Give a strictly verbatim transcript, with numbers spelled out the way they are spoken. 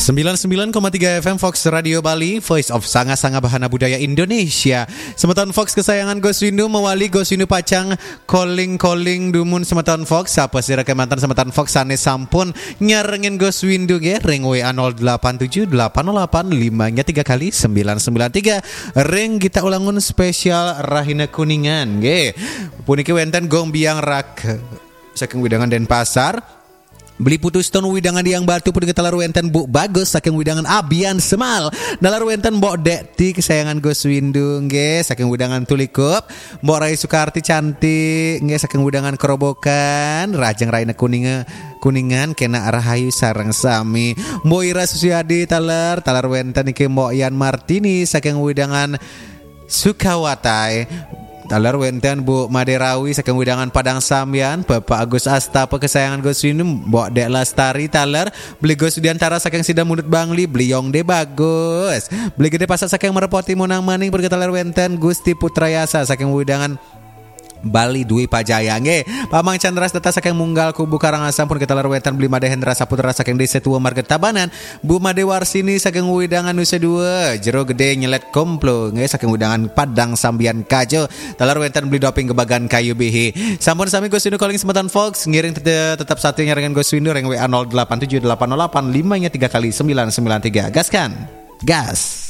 Sembilan sembilan koma tiga F M Fox Radio Bali, Voice of Sanga-Sanga Bahana Budaya Indonesia. Semeton Fox kesayangan Gus Windu mewali Gus Windu pacang calling-calling dumun semeton Fox. Sapa sira kemanten semeton Fox sane sampun nyarengin Gus Windu nggih ring W A nol delapan tujuh delapan nol delapan lima nya tiga kali sembilan sembilan tiga. Ring kita ulangun spesial Rahina Kuningan nggih. Puniki wenten Gong Biang Rak saking wewidangan Denpasar. Beli Putu Stone wewidangan Diang Batu, puniki taler wenten Bu Bagus saking wewidangan Abian Semal. Taler wenten Mbok Dekti kesayangan Gus Windu nggih saking wewidangan Tulikup. Mbok Rai Sukarti cantik nggih saking wewidangan Kerobokan. Rahajeng Rahina Kuninge-, Kuningan kena rahayu sareng sami. Mbok Ira Susiadi taler, taler wenten niki Mbok Yan Martini saking wewidangan Sukawatai. Taler wenten Bu Made Rawi saking wewidangan Padang Sambian, Bapak Agus Astapa kesayangan Gus Windu, Mbok Dek Lastari taler, Beli Gus Widiantara saking Sida Mundut Bangli, Beli Yongde Bagus. Beli Gede Pasar saking Merpati Monang Maning, puniki taler wenten Gusti Putra Yasa saking wewidangan Bali Dwi Pajaya nggih. Pamang Chandra Data saking Munggal Kubu Karangasem, puniki taler wenten Beli Made Hendra Saputra saking Desa Tua Marga Tabanan, Bu Made Warsini saking wewidangan Nusa Dua, Jero Gede Nyelet Komplo nggih saking wewidangan Padang Sambian Kajo. Taler wenten Beli Doping Gebagan Kayu Bihi. Sampun sami Gus Windu calling semeton Fox, ngiring tete-, tetep sati nyarengan Gus Windu ring W A nol delapan tujuh delapan nol delapan lima nya tiga kali sembilan sembilan tiga. Gaskan. Gas.